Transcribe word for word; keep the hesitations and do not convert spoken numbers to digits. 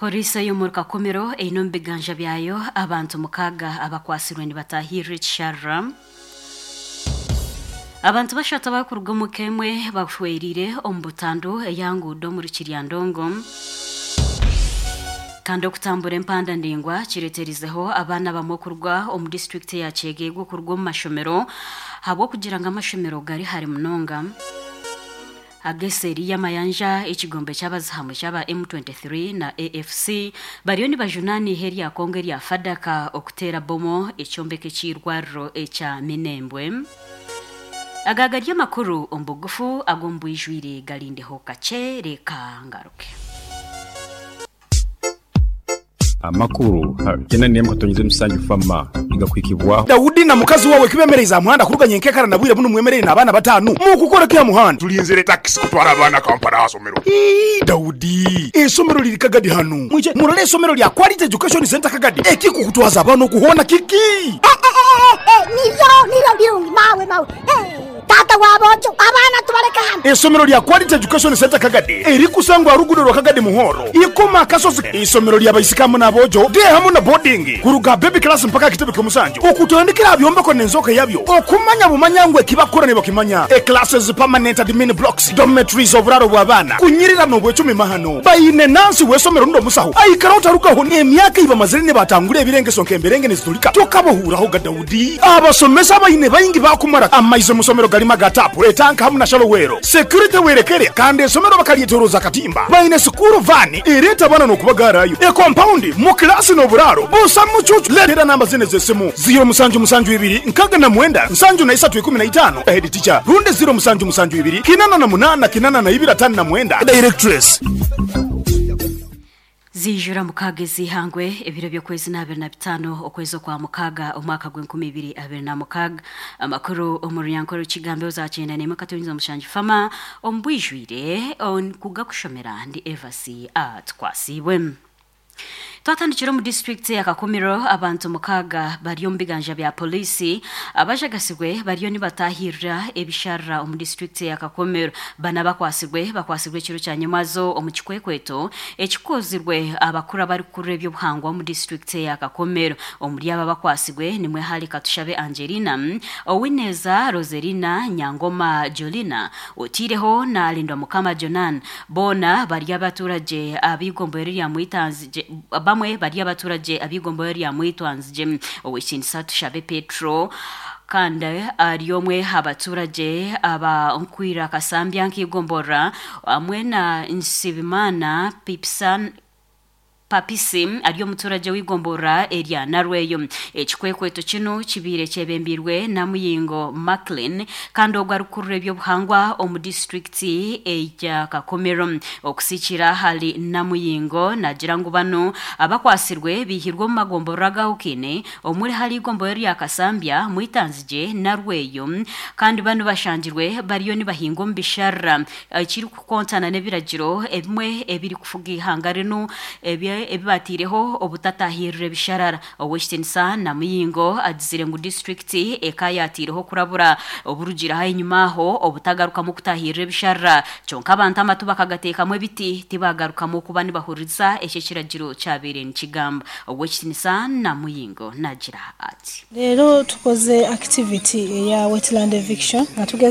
Polisi ey'omuri Kakumiro eine omu biganja byayo abantu mukaaga abakwasirwe nibatahirira ekisharara. Abantu bashatu abarikuruga omu ka emwe bashwerire omu butandu eyanguudo omuri Kiryandongo. Kandi okutambura empanda ndaingwa kireeterizeho abaana bamwe okuruga omu disiturikiti eya Kyegegwa okuruga omu mashomero ahabw'okugira ngu amashomero gari hare munonga. Ageseeri y'amayanja ekigombe ky'abazihamwe ky'aba M twenty-three na A F C bariyo nibajunaana eihe rya Congo erya Fadaka okuteera bomo ekyombeko eky'eirwariro ekya Minembwe. Aga gari amakuru omu bugufu ag'omu bwijwire garindeho kakye reka ngaruke. Amakuru tena niyo mukatonyeze musanju fama igakwikibwa Daudi na mukazi wawe kibemereza muhanda kuruganya enkekara na bwire buno mwemerere n'abaana batanu mukukora kya muhanda tulinzire taxi kutwara abaana Kampala asomero. Ii, Daudi esomero liri Kagadi hanu mwije murole esomero lya Quality Education Center Kagadi ekikukutwaza abaana okuhona kiki niryo niryo birungi mawe mawe tata wabojo abaana tubaleka hano. Esomero lya Quality Education Center Kagadi erikusangwa rugudo rwa Kagadi Muhoro ikoma akasozi. Isomero lya baisikamu n'abojo de hamu na boarding kuruga baby class mpaka kitebe ky'omusanju okutandikira byombeko n'enzoka yabyo okumanya bumanya ngwe kibakora ne bakimanya e classes permanent admin blocks dormitories oburaro bw'abaana kunyirira n'obwecumi mahano bayine nansi w'esomero ndo musaho aikara otarukaho emyaka iba mazire ne batangura ebirengeso nk'emberenge nezitulika tokabohuraho ga Daudi abasomesa bayine bayingi bakumara amaize musomero galima gatapu etanka hamu na shalowero security werekere kandi esomero bakalietoroza katimba bayine sukuru vani ereta bana n'okubagarayo e compound mu klasi n'oburaro busa mucucu letera namba zine z'essimu zero musanju musanju ibiri nkaga na mwenda nsanju na isatu ikumi na itano head teacher runde zero musanju musanju ibiri kinana na munana kinana na ibiri atanu na mwenda directress. Zijura mukaaga ezihangwe ebiro by'okwezi n'abiri na bitaano okwezi okwa mukaaga omwaka gw'enkumi ibiri abiri na mukaaga. Amakuru omu runyankore rukigambe ozakyenda n'emwe katonyeza omushangi fama omu bwijwire kugakushomera ndi Evasi Atwasibwe. Twatandikira omu disitulikiti ya Kakumiro abantu mukaaga bari omu biganja bya polisi abajagasibwe bariyo nibatahirira ebisharara omu disitulikiti ya Kakumiro. Bana bakwasibwe bakwasibwe ekiro kya nyemazo omu kikwekweto ekikozirwe abakuru abarikukurira ebyobuhangwa omu disitulikiti ya Kakumiro. Omuri aba bakwasibwe nimwe hari Katushabe Angelina, Owineza Roselina, Nyangoma Jolina, otiireho na Alindwa Mukama Jonan. Boona bari abaturage ab'igombo rya Mwitanzije, bamwe bari abaturage ab'igombo rya Mwitwanzije. Owekinisa Tushabe Petro kandi ari omwe abaturage aba Nkwira Kasambya nk'igombora hamwe na Nsibimana Pipsan Papisi ari omuturage w'igombora erya Narweyo. Ekikwekweto kino kibiire kyebembirwe na Muyingo Maclean kandi ogwo arikurura ebyobuhangwa omu disitulikiti eya Kakumiro. Okusikira hari Namuyingo nagira ngu bano abakwasirwe bihirwe omu magombora agahukine omuri hari igombora rya Kasambya Mwitanzije Narweyo kandi bano bashangirwe bariyo nibahinga omu bisharara ekiri kukontana n'ebiragiro ebimwe ebiri kufuga ihanga rinu ebye ebibatireho obutatahirire bisharara. Owekitinisa na Muyingo agizire ngu disitulikiti ekayatireho kurabura oburugira aho enyuma aho obutagarukamu kutahirira ebisharara kyonka abantu amatu bakagateekamu ebiti tibagarukamu kuba nibahuriza ekyo ekiragiro kyabaire nikigamba. Owekitinisa na Muyingo nagira ati leero tukoze activity eya wetland eviction nga tugeza